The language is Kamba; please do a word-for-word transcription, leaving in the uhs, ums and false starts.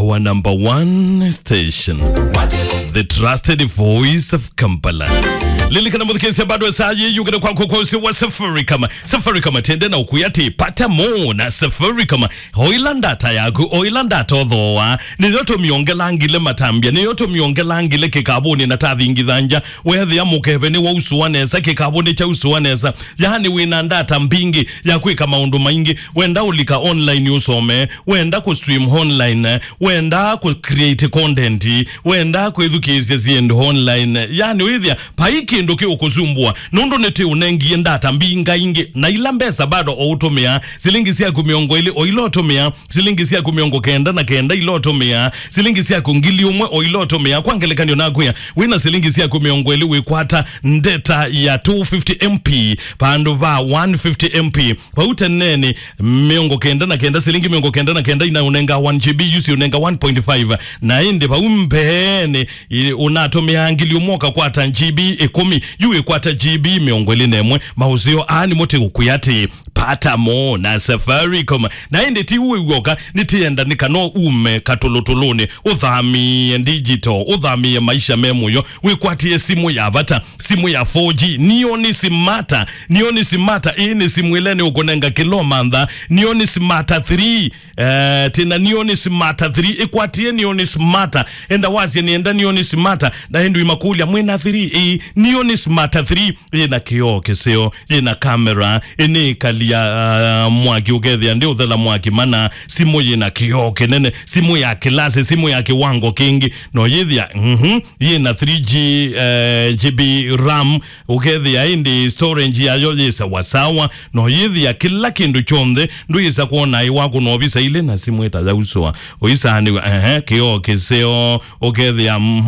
Our number one station, the trusted voice of Kampala. Lilikana mũthikĩrĩria, bado saa yĩ yũkĩte kwako kwa ũsĩ wa Safaricom. Safaricom tende na ũkwĩa atĩ pata mo na Safaricom. Oila ndata yaku, oila ndata ũthooa. Nĩyo tũmĩongelangile matambya, nĩyo tũmĩongelangile kĩkavũnĩ na tathingitha nja. Wethĩa mũkeve nĩ wausũa nesa, kĩkavũnĩ kyausũa nesa. Yaani wĩna ndata mbingĩ ya kwĩka maũndũ maingĩ. Wenda ũlika online ũsome, wenda kũ stream online, wenda kũ create content, wenda kwĩthukĩĩsya syĩndũ online. Yaani wĩthĩa vai kĩndũ kĩũkũsumbũa, nũndũ nĩtĩ ũnengie ndata mbingaingĩ, na ila mbesa bado o ũtũmĩa, silingi syaku mĩongo ĩlĩ o ila ũtũmĩa, silingi syaku mĩongo kenda na kenda ila ũtũmĩa, silingi syaku ngili ũmwe o ila ũtũmĩa. Kwa ngelekany'o nakwĩa, wĩna silingi syaku mĩongo ĩlĩ wĩkwata ndeta ya two fifty M P vandũ va one fifty M P. Vau teneni, mĩongo kenda na kenda, silingi mĩongo kenda na kenda inaũnenga one G B, yu siũnenga one point five. Na ĩndĩ vau mbeenĩ, i-, ũnatũmĩaa ngili ũmwe ũkakwata G B ĩkũmi, yu wĩkwata G B mĩongo ĩlĩ na ĩmwe. Maũseo aa nĩmo tũũkwĩa atĩ pata mo na Safaricom. Na ĩndĩ ti ũĩ w'oka, nĩtĩenda nĩ kana ume katũlũtũlũnĩ, ũthamĩe digital, ũthamĩe maisha me mũyo, wĩkwatĩe simũ ya vata, simũ ya four G, Neon Smarta. Neon Smarta, ĩĩ nĩ simũ ĩla nĩũkũnenga kĩla ũmantha. Neon Smarta three, eh, tĩna Neon Smarta three, ĩkwatĩe Neon Smarta. Enda wasye nĩenda Neon Smarta, na ĩndĩ imakũlya, "Mwĩna three?" Ĩĩ, Neon Smarta three yĩna kĩoo kĩseo, yĩna kamera, ĩnĩ ĩkalia, ah, mwaki ũkethĩa ndĩ ũthela mwaki mana, simũ yĩna kĩoo kĩnene, simũ ya kĩlasi, simũ ya kĩwango kĩngĩ, no yĩthĩa, mhm, yĩna three G, eh, G B RAM, ũkethĩa ĩndĩ storage yayo yĩ sawasawa, no yĩthĩa kĩla kĩndũ kyonthe, ndũyĩsa kwona ĩ waku no visa ilĩ na simũ ĩtayausũa, ũisaanĩw'a, ehe, kĩoo kĩseo, ũkethĩa, mhm.